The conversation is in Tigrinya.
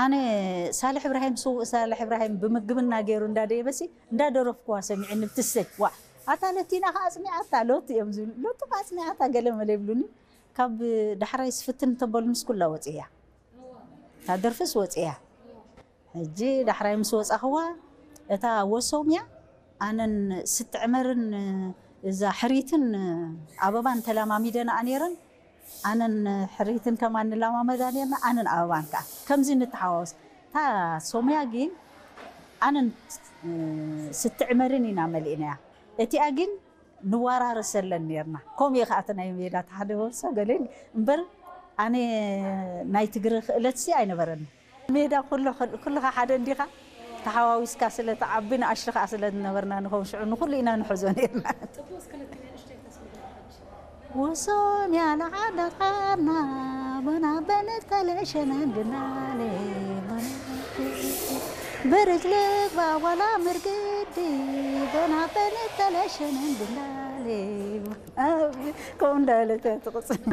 ኣነ ሳልሕ እብራሂም፣ ስዉእ ሳልሕ እብራሂም ብምግብና ገይሩ እንዳደየበሲ እንዳደረፍኩዋ ሰሚዐኒ ብትሰይ። ዋ፣ ኣታ ለቲና ከኣ ኣጽኒዓታ፣ ሎቲ እዮም ዝብሉ። ሎቲ ከኣ ኣጽኒዓታ ገለ መለ ይብሉኒ። ካብ ዳሕራይ ስፍትን ተበሉ ምስ ኩላ ወጽያ። እታ ደርፍስ ወጽያ። ሕጂ ዳሕራይ ምስ ወጻኽዋ፣ እታ ወሶምያ ኣነን ስትዕመርን እዛ ሕሪትን ኣበባን ተላማሚደንኣ ነይረን። ኣነን ሕሪትን ከማን ንላማመዳ ነርና፣ ኣነን ኣበባን ከኣ ከምዚ ንተሓዋወስ። እታ ሶምያ ግን ኣነን ስትዕመርን ኢና መሊእናያ። እቲኣ ግን ንወራረሰለን ነርና። ከምኡ እዩ ከኣ እቲ ናይ ሜዳ እቲ ሓደ ወርሶ ገለ እምበር፣ ኣነ ናይ ትግሪ ክእለትሲ ኣይነበረኒ። ሜዳ ኩሉ፣ ኩልኻ ሓደ እንዲኻ፣ ተሓዋዊስካ ስለ ትዓቢ፣ ንኣሽቱ ከኣ ስለ ዝነበርና፣ ንኸም ሽዑ ንኹሉ ኢና ንሕዞ ነርና። ጽቡቕ፣ እስከ ለቲ ናይ ንእሽተይ ተስምዕና ሕጂ። ወሶም ያለ ዓደኻና፣ በና በነት ተለሸነን ብናሌ፣ በና ብርጅልግ ባዋላ ምርግዲ፣ በና በነት ተለሸነን ብናሌ። ከምኡ እንዳበለት እያ ትቕጽል።